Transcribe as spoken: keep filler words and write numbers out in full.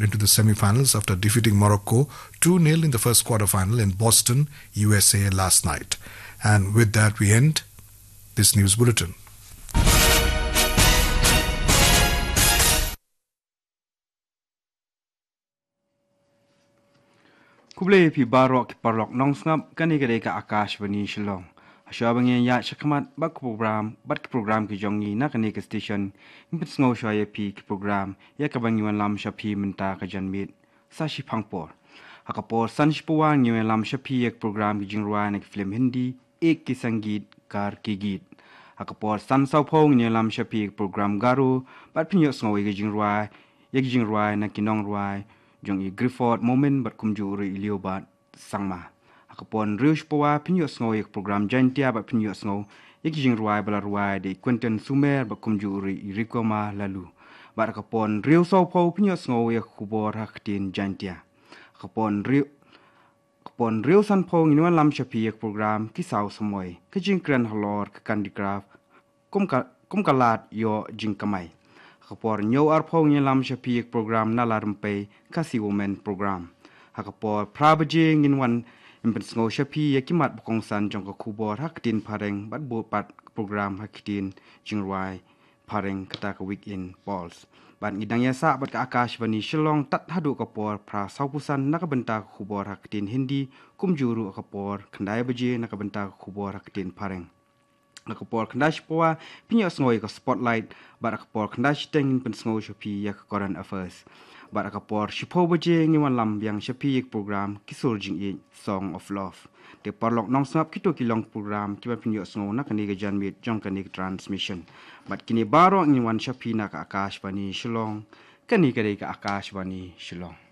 into the semi-finals after defeating Morocco two nil in the first quarter-final in Boston, U S A last night. And with that, we end this news bulletin. Khublei phi baroh ki paralok nongsngap, kane ka dei ka Akashvani Shillong. Hashwa ba ngin ïaid shakhmat bad ki program, bad ki program ki jong ngi na kane ka station, ngin pynsngew shwa ïa phi ki program ïa kaba ngi wanlam sha phi mynta ka janmiet. Sa shiphang por. Ha ka por san shiphew ngi wanlam sha phi ïa ki program ki jingrwai na ki film Hindi, Ek Ki Sangeetkar Ki Geet. Ha ka por san sawphew ngi wanlam sha phi ïa ki program Garo, bad phin ïohsngew ïa ki jingrwai, ïa ki jingrwai na ki nongrwai jong i Grifford Momin bad kumjuh ruh i Leobad Sangma. Ha ka por hynriew shiphew phin ïohsngew ïa ki program Jaintia bad phin ïohsngew ïa ki jingrwai ba la rwai da i Quentin Sumer bad kumjuh ruh i Rikoma Lalu. Bad ha ka por hynriew sawphew phin ïohsngew ïa ka khubor ha ka ktien Jaintia. Ha ka por hynriew, ha ka por hynriew sanphew ngin wanlam sha phi ïa ka program Ki Saw Samoi, ka jingkren halor ka handicraft, kum ka, kum ka lad ïoh jingkamai. Ha ka por hynñiew arphew ngin lam sha phi ïa ka program Nala Rympei, Khasi Women Program. Ha ka por phra baje ngin wan, ngin pynsngew sha phi ïa ki mat ba kongsan jong ka khubor ha ka ktien Phareng bad bud pat ka program ha ka ktien jingrwai Phareng, kata ka Weekend Pulse. Bad ngi dang ïasah bad ka Akashvani Shillong tad haduh ka por phra sawphew san na ka bynta ka khubor ha ka ktien Hindi, kumjuh ruh ha ka por khyndai baje na ka bynta ka khubor ha ka ktien Phareng. Ha ka por khyndai shiphew phin ïohsngew ïa ka Spotlight, bad ha ka por khyndai shiteng ngin pynsngew sha phi ïa ka Current Affairs. Bad ha ka por shiphew baje ngin wanlam biang sha phi ïa ka program Ki Sur Jingïeit, Song of Love. Te paralok nongsngap, kito ki long ki program kiba phin ïohsngew na kane ka janmiet jong kane ka transmission. Bad kine baroh ngin wan sha phi na ka Akashvani Shillong, kane ka dei ka Akashvani Shillong.